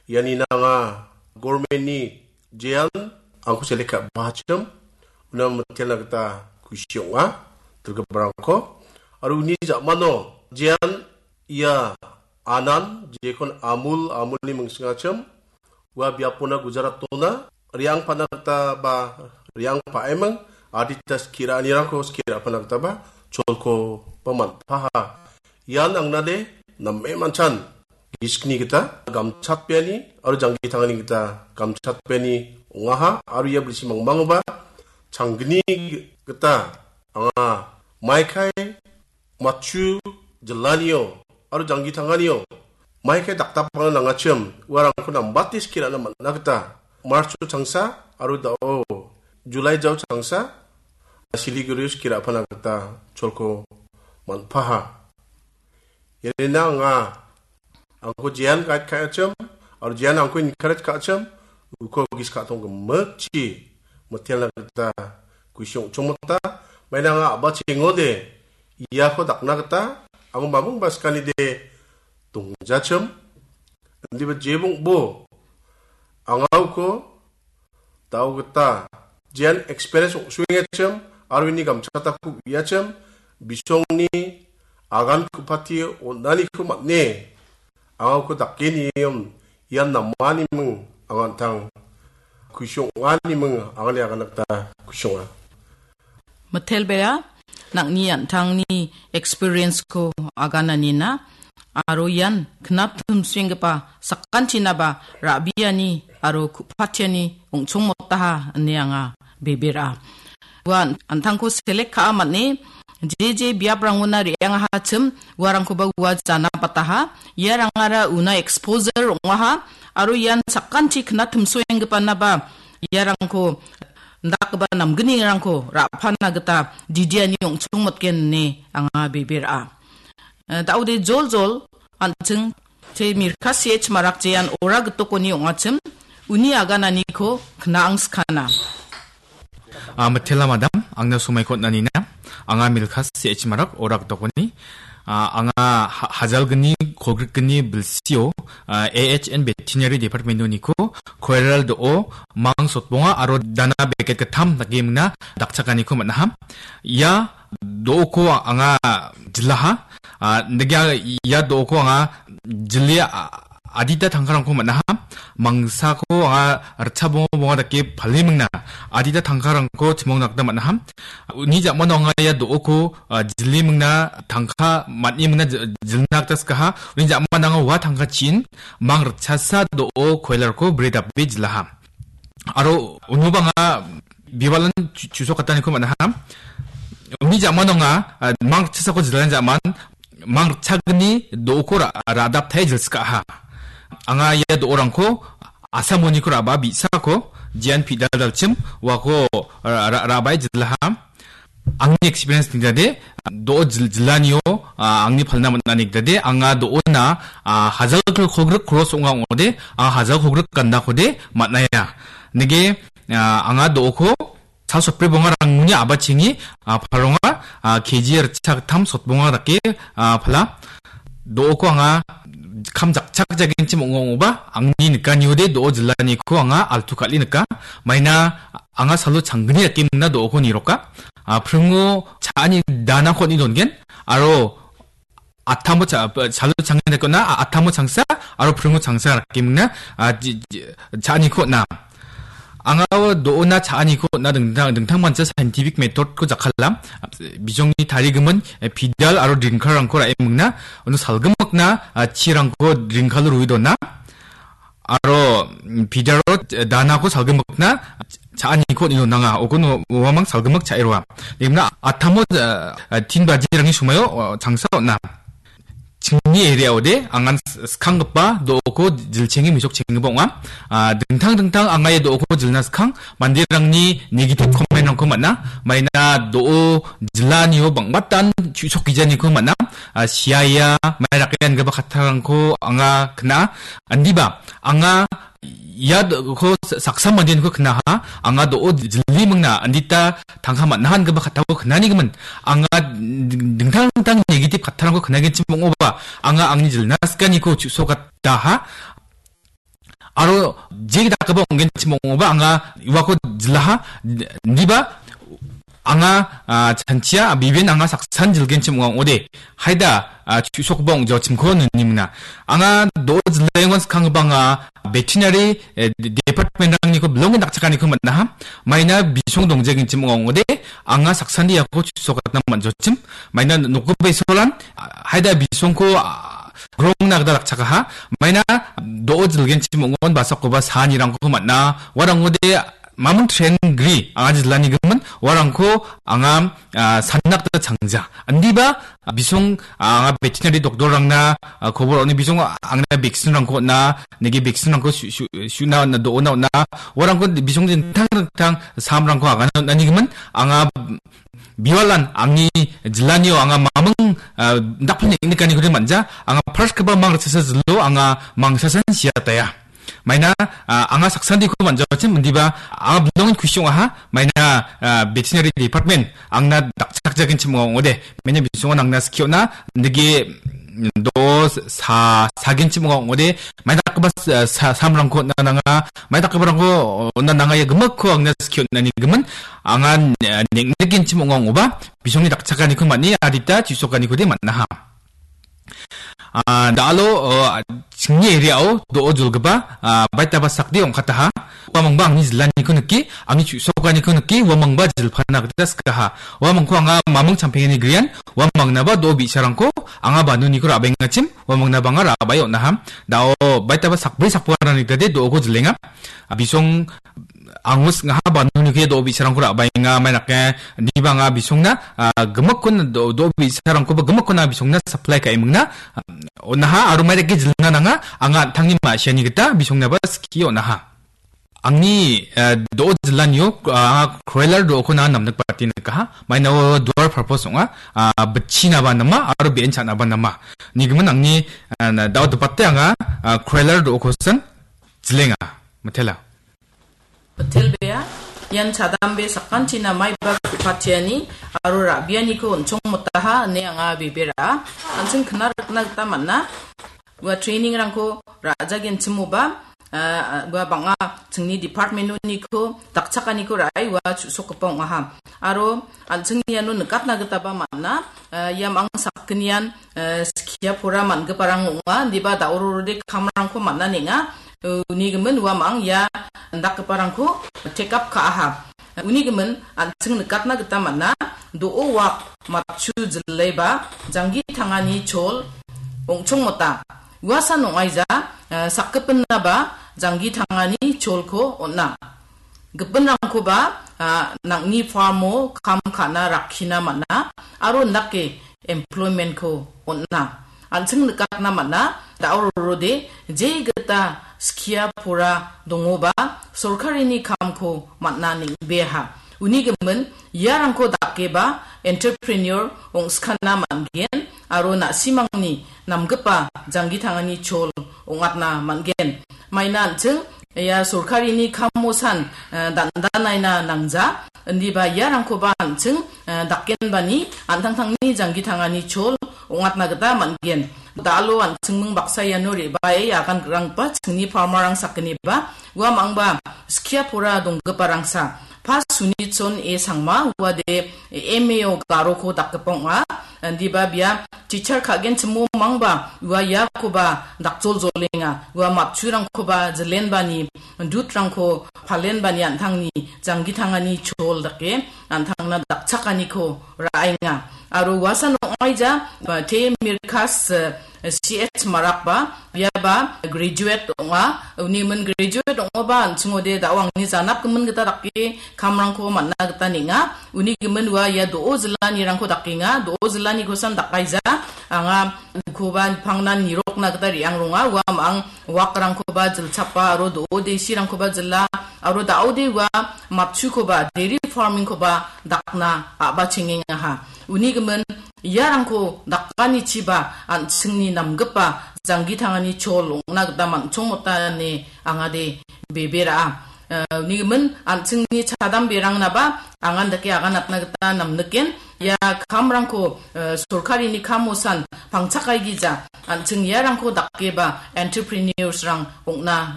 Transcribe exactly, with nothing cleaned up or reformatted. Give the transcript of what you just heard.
ianina anga gormenni jean angko selek ka·bachim, una mitelna gita kusi ong·a, dilgiparangko. Aro uni ja·mano jean ia anan, jekon Amul, Amulni mingsingachim, ua biapona Gujaratona re·angpana gita ba re·angpaeming, adita skie ra·anirangko skie ra·pana gita ba cholko ba man·paha. Ian angnade name manchan gisikni gita gamchatbeani aro janggi tangani gita gamchatbeani ong·aha, aro ia bilsi mangmangoba changgni gita anga maikai matchu jillanio aro janggi tanganio maikai dakdapangna nangachim uarangko nambate skie ra·na man·a gita March-o changsa aro da·o July jao changsa Siliguri-o skie ra·pana gita cholko man·paha. Ianina anga angko jean guide ka·achim, aro jean angko encourage ka·achim, uko gis ka·tong gimikchi mitelna gita kusi ong·chongmota. Maina anga a·bachengode iako dakna gita amo mabung baskanide dongjachim. Indiba jebongbo anga uko dao gita jean experience ong·suengachim aro ini gamchatako uiachim, bisongni agan ku·pati on·aniko man·e, anga uko dake nium ian namaniming anga an·tang kusi ong·animing angani agan gita kusi ong·a. Mitelbea, nang·ni an·tangni experience-ko agananina, aro ian knap tumsuenggipa sakantinaba ra·biani aro ku·patiani ong·chongmotaha ine anga bebera. Ua an-, an·tangko selek ka·a man·e, je je biaprangona re·angahachim, uarangkoba ua jana bataha, iarangara una exposure ong·aha, aro ian sakanti knap tumsuenggipanaba iarangko indakgipa namgnirangko ra·pana gita didiani ong·chongmotgen ine anga bebera. Eh, da·ode joljol an·ching te Mirka C H Marak jean ora gitokoni ong·achim uni agananiko knang skana. Ah, mitela madam, angna somaiko on·anina. Anga Milka C H Marak ora gitokoni. Ah, anga ha-, hajalgni, kolgrikgni bilsio, ah, A H N Veterinary Department-oniko koiral do·o, mang sotbonga aro dana beket gittam dake mingna dakchakaniko man·aha. Ia do·oko anga jilaha. Ah, nike ia do·oko anga jile, ah, adita tangkarangko man·aha. Mangsako anga ritcha bonga bonga dake pale mingna adita tangkarangko chimongna gita man·aha. Uni ja·mano anga ia do·oko, ah, jile mingna tangka man·e mingna ji-, jilna gita sikaha. Uni ja·mano anga ua tangka chin mang ritchasa do·o koilarko bri dape jilaha. Aro unoba anga bibalan chu-, chusokataniko man·aha. Uni ja·mano anga, ah, mang ritchasako jilani ja·man mang ritchagni do·oko ra-, ra·daptae jilsikaha. Anga ia do·orangko asamoniko ra·ba bi·sako jean pidal dalchim uako ra-, ra-, ra·bae jilaha. Angni experience nigdade, do·o jil-, jilanio, ah, angni palna man·a nigdade, anga do·ona, ah, hajal kolgrik cross ong·a ong·ode, anga hajal kolgrik gandakode man·aia. Nige, ah, anga do·oko sal sotbri bongarangni a·bachengi, ah, palonga, ah, K G ritchagittam sotbonga dake, ah, pala. Do·oko anga kam jakchakjagenchim ong·a ong·oba, angni nikaniode do·o jilaniko anga altu kal·e nika. Maina anga salo changgni dake mingna do·oko niroka. Ah, pringo cha·ani danako on·e dongen, aro atamo cha-, salo changgni dake on·a, a-, atamo changsa, aro pringo changsa dake mingna, ah, ji-, ji-, cha·aniko on·a. Anga do·ona cha·aniko on·a dingtang, dingtang mancha scientific method-ko jakkala. Bijongni tarigimin, eh, pidal aro drinkarangko ra·e mingna, uno salgimikna, ah, chirangko drinkalo rue dona. Aro, mm, pidalo, eh, danako salgimikna cha·aniko on·e donanga. Ukon uamang salgimik cha·e roa. Degimna atamo, eh, eh, tin bajirangni somoio, oh, changsa on·a. Chingni area-ode angan s-, skanggipa do·oko jilchenge mesokchenggipa ong·a. Ah, dingtang dingtang anga ia do·oko jilna skang manderangni negative comment-rangko man·a. Maina do·o jilanio bang·batan chu·sokgijaniko man·a. Ah, siaia, mairake angipa kattarangko anga kna·a. Indiba, anga ia do·oko sa-, saksa mandeniko knaha, anga do·o jili mingna, andita tangka man·aha ingipa kattako knanigimin, anga ding-, dingtang dingtang negative kattarangko knagenchim ong·oba, anga angni jilna sikaniko chu·sokataha. Aro je dakgipa ong·genchim ong·oba anga uako jilaha, indiba anga, ah, chanchia, biben anga saksan jilgenchim ong·a ong·ode. Haida, ah, chu·sokgipa ong·jaochimko nini mingna. Anga do·o jilaengon skanggipa anga veterinary, eh, de-, department-rangniko bilongen dakchakaniko man·aha. Maina bisong dongjagenchim ong·a ong·ode. Anga saksani iako chu·sokatna man·jochim. Maina nokgipa isolan, ah, haida bisongko, ah, grongna gita dakchakaha. Maina do·o jilgenchim ong·on basakkoba saanirangko man·a. Uarangode mamung tren gri anga jilani gimin uarangko anga, ah, sanna gita changja. Indiba, ah, bisong, ah, anga veterinary doctor-rangna, ah, kobor on·e bisong angna vaccine-rangko on·a, nege vaccine-rangko su-, su-, su·na on·a, do·ona on·a. Uarangko bisong dingtang dingtang samrangko agana on·ani gimin anga biwalan angni jilanio anga mamung, ah, dakpil neng·nikaniko de manja, anga first-gipa mangrichasa jilo anga mangsasan siataya. Maina, ah, anga saksandiko man·jawachim indiba anga bilongen kusi ong·aha. Maina, ah, veterinary department angna dakchakjagenchim ong·ode. Maina bisongan angna skiona indike, mm, do sa-, sagenchim ong·ode. Maina dakgipa sa-, sa-, samrangko on·na nanga. Maina dakgiparangko on·na nanga ia gimikko angna skiona nigimin. Anga, eh, neng·nikenchim ong·a ong·oba. Bisongni dakchakaniko man·e adita chu·sokanikode man·aha. Ah, da·alo, oh, chingni area-o do·o jolgipa, ah, baitaba sakde ong·kataha. Uamangba angni jilaniko nike, angni chu·sokaniko nike, uamangba jilpana gita sikaha. Uamangko anga mamung champengani grian, uamangnaba do·o bi·sarangko anga banuniko ra·baengachim, uamangnaba anga ra·bae on·aha. Da·o baitaba sakbri sakboarangni gitade do·oko jilenga. Ah, bisong angus ngaha banuni ke do·o bi·sarangko ra·baenga, mai nake indiba anga bisongna, ah, gimikkon do-, do·o bi·sarangkoba gimikkona bisongna supply ka·e mingna, ah, on·aha aro mai dake jilna nanga, anga an·tangni ma·siani gita bisongnaba skie on·aha. Angni, ah, do·o jilanio, ah, anga kroilar do·okona namnikbate nikaha. Mainao dual purpose ong·a, ah, bitchinaba nama aro be·en cha·naba nama. Nigimin angni, ah, na-, da·o dipate anga, ah, kroilar do·okosan jilenga. Mitela. Hotel bea, ian chadambe sakantina maiba ku·patiani aro ra·bianiko on·chongmotaha ine anga bebera. An·ching kna rikna gita man·a. Ua training-rangko ra·jagenchimoba, ah, ua bang·a chingni department-oniko dakchakaniko ra·e ua chu·sokgipa ong·aha. Aro an·ching iano nikatna gitaba man·a, ah, ia mang sakgnian, ah, skia pora man·giparang ong·a, indiba da·o rorode kamrangko man·a nenga. Uni gimin uamang ia indakgiparangko take up ka·aha. Uni gimin an·ching nikatna gita man·a, do·o wak matchu jilaiba janggi tangani chol ong·chongmota. Uasan ong·aija, eh, sakgipinaba janggi tangani cholko on·a. Gipinrangkoba, ah, nang·ni farm-o kam ka·na rakkina man·a aro indake employment-ko on·a. An·ching nikatna man·a, da·o rorode je gita skia pora dongoba sorkarini kamko man·a neng·beaha. Uni gimin iarangko dakeba entrepreneur ong·skana man·gen aro na·simangni namgipa janggi tangani chol ong·atna man·gen. Maina an·ching ia sorkarini kamosan, eh, dandanaina nangja, indiba iarangkoba an·ching, eh, dakenbani an·tangtangni janggi tangani chol ong·atna gita man·gen. Da·alo an·chingming baksa iano re·bae agan granggipa chingni farmer-rang sakgniba uamangba skia pora donggiparangsa. Pa Sunitson E Sangma, uade M A-o garoko dakgipa ong·a. Indiba bia teacher ka·genchimo mangba ua iakoba dakjoljolenga. Ua matchurangkoba jilenbani, dutrangko palenbani an·tangni janggi tangani chol dake an·tangna dakchakaniko ra·enga. Aro uasan ong·aija, ba, Te Mirkas, eh, C H Marakba, biaba graduate ong·a. Uni min graduate ong·oba an·chingode da·o angni janapgimin gita dake kamrangko man·na gita neng·a. Uni gimin ua ia do·o jilanirangko dakenga. Do·o jilanikosan dakaija. Anga ukoba pangnan nirokna gita re·ang ronga. Ua ma·ang wakrangkoba jilchapa aro do·o desirangkoba jila. Aro da·ode ua matchukoba, dairy farming-koba dakna a·bachengengaha. Uni gimin iarangko dakanichiba an·chingni namgipa janggi tangani chol ong·na gita man·chongmota ine angade bebera. Eh, uni gimin an·chingni chadamberangnaba angan dake aganatna gita namniken. Ia kamrangko, eh, sorkarini kamosan pangchakaigija an·ching iarangko dakeba entrepreneurs-rang ong·na